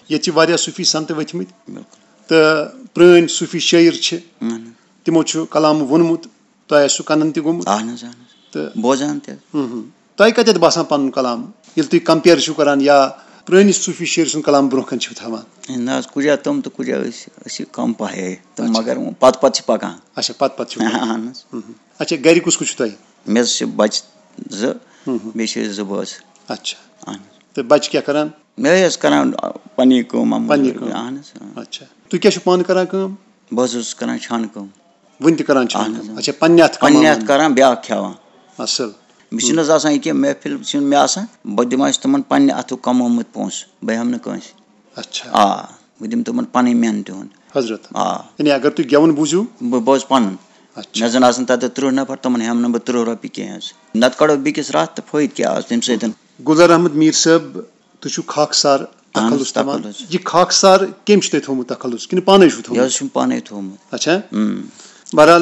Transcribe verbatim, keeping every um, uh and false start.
ییٚتہِ چھِ واریاہ صوٗفی سنتہٕ ؤتھمٕتۍ، بِلکُل۔ تہٕ پرٛٲنۍ صوٗفی شٲعر چھِ، اہن حظ۔ تِمو چھُ کلام ووٚنمُت، تۄہہِ آسِوٕ کنن تہِ گوٚمُت۔ اہن حظ، اہن حظ۔ تہٕ بوزان تہِ۔ ہُم ہُم۔ تۄہہِ کتٮ۪تھ باسان پنُن کلام، ییٚلہِ تُہۍ کمپیر چھِو کران یا پرٛٲنِس صوٗفی شٲعر سُنٛد کلام برونٛہہ کنہِ چھِو تھاوان؟ نہ حظ، کُجا تِم تہٕ کُجا أسۍ، أسۍ چھِ کم پہے۔ تِم اچھا۔ مگر وۄنۍ پتہٕ پتہٕ چھِ پکان۔ اچھا، پتہٕ پتہٕ چھِو کران۔ اہن حظ۔ ہُم ہُم۔ اچھا، گرِ کُس کُس چھُ تۄہہِ؟ مےٚ حظ چھِ بچہِ زٕ، ہُم ہُم۔ بیٚیہِ چھِ أسۍ زٕ بٲژ۔ اچھا۔ اہن حظ۔ تہٕ بچہِ کیٛاہ کران؟ مےٚ ٲسۍ کران پننی کٲم، اَمہٕ پننی موٗجوٗب۔ کٲم۔ اہن حظ، آ۔ اچھا۔ تُہۍ کیٛاہ چھِو پانہٕ کران کٲم؟ بہٕ حظ اوسُس کران چھانہٕ کٲم۔ وُنہِ تہِ کران چھِو اہن کٲم؟ حظ۔ اچھا، پننہِ اَتھٕ پننہِ کماوان؟ اَتھٕ کران، بیٛاکھ کھٮ۪وان۔ اصل۔ مےٚ چھُنہٕ حظ آسان یہِ کینٛہہ، محفل چھُنہٕ مےٚ آسان، بہٕ دِمہٕ اَسہِ تِمن پننہِ اَتھُک کمومُت پونٛسہٕ، بہٕ ہٮ۪مہٕ نہٕ کٲنٛسہِ۔ اچھا۔ آ، بہٕ دِمہٕ تِمن پنٕنۍ محنتہِ ہُنٛد۔ حضرت۔ آ۔ یعنی اگر تُہۍ گٮ۪وُن بوٗزِو؟ بہٕ بوزٕ پنُن۔ اچھا۔ مےٚ زن آسن تتہِ ترٕٛہ نفر، تِمن ہٮ۪مہٕ نہٕ بہٕ ترٕٛہ رۄپیہِ کینٛہہ حظ۔ نتہٕ کڑو بیٚکِس راتھ تہٕ فٲیدٕ کیٛاہ آسہِ تمہِ سۭتۍ؟ گُلزار احمد میٖر صٲب، تُہۍ چھِو خاکسار اہن حظ، تخلص تھاوان۔ تخلص۔ یہِ خاکسار کٔمۍ چھُ تۄہہِ تھوٚومُت تخلص کِنہٕ پانے چھُو یہِ تھوٚومُت؟ حظ چھُم پانے تھوٚومُت۔ اچھا۔ اۭں۔ بہرحال،